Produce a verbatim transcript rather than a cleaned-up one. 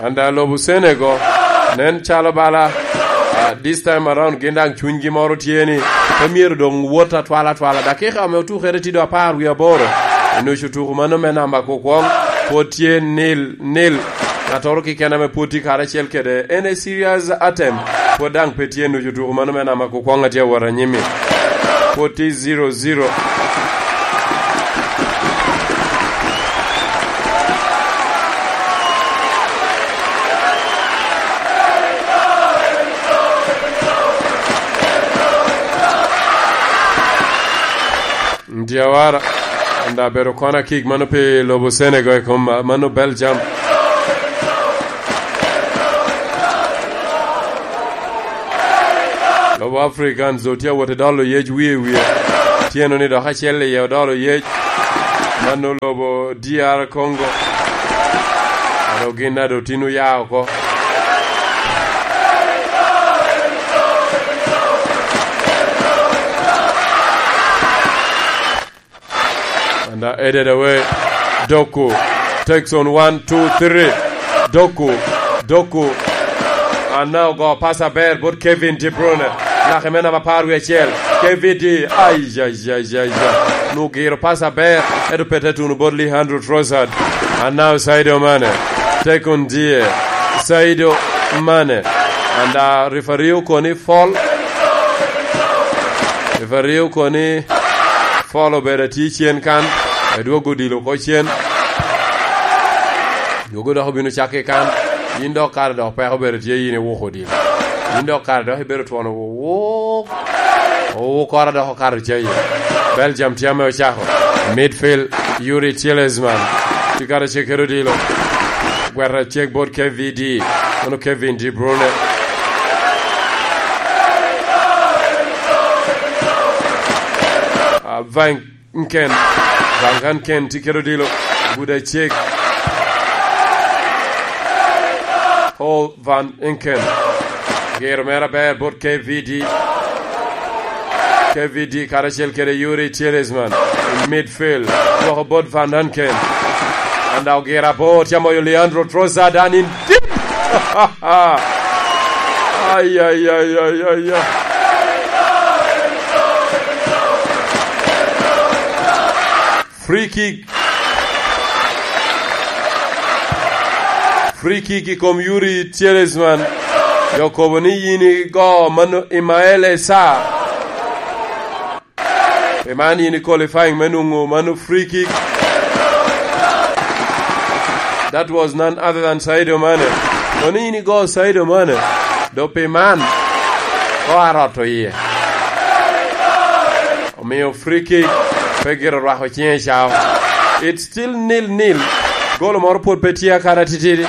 Anda lobo Senegal, nen calo bala, ah, this time around gin daŋ cunygi moro tye ni, pe myero doŋ wot atwal atwal. Dakika ame otukere tye doŋ apar wie aboro. Nucu tuku mano me namba kukwoŋ, pwod tye nil nil. Ŋattoro keken ame pwod tye karacel kede en a serious attempt, pwod daŋ pe tye nucu tuku mano me namba kukwoŋ a tye awot anyim-mi. Pwod tye zero zero. Diawara, anda bedo kona kik mano pi lobo Senegal i kom ma-, mano Belgium. Lobo Africans doŋ tye awot i dolo yec wie wie. Tyeno ni dok acel iye odolo yec. Mano lobo D R Congo. Ado gin ado tin oya oko. And, uh, headed away. Doku takes on one, two, three. Doku, Doku. And now go pass aber bot Kevin De Bruyne. Lake me namba apar wie acel. K V D. Ai, ai, ai, ai, ai. Nugiro pass aber. Edo pete tuno bot Leandro Trossard. And now Sadio Mane. Take on die. Sadio Mane. And, uh, referee okoni foul. Referee okoni foul obedo atye cen kan, edwogo odilo oko cen. Dwogo dok obino cakke kan. Yin dok kare dok peko obedo tye yin iwuko odilo. Yin dok kare dok ibedo twon owuk. Owuk kora dok okato cayi. Belgium tye ame ocako. Midfield, Yuri Tielemans. Tye kare cek kede odilo. Gweta cek bot K V D. Kono Kevin De Bruyne. Ah, Van Ken. Van Ken tye kede odilo. Guda cek. Paul Van Inken. Giro mere aber bot K V D. K V D karacel kede Yuri Tielemans in midfield. Gwoko bot Van Inken. Anda ogira bot ya moyo Leandro Trossard an in deep. Ay, ay, ay, ay, ay, ay. Free kick. Free kick i kom Yuri Tielemans. Yo kobo ni yin igo mano Ismael Esa. Pi man yin i qualifying me nwoŋo mano free kick. That was none other than Sadio Mane. Kono yin igo Sadio Mane. Do pi man, ko arot oye. Omiyo free kick pe gire orwako ciŋe cao. It's still nil nil. Golo moro pwod pe tye akata titidi.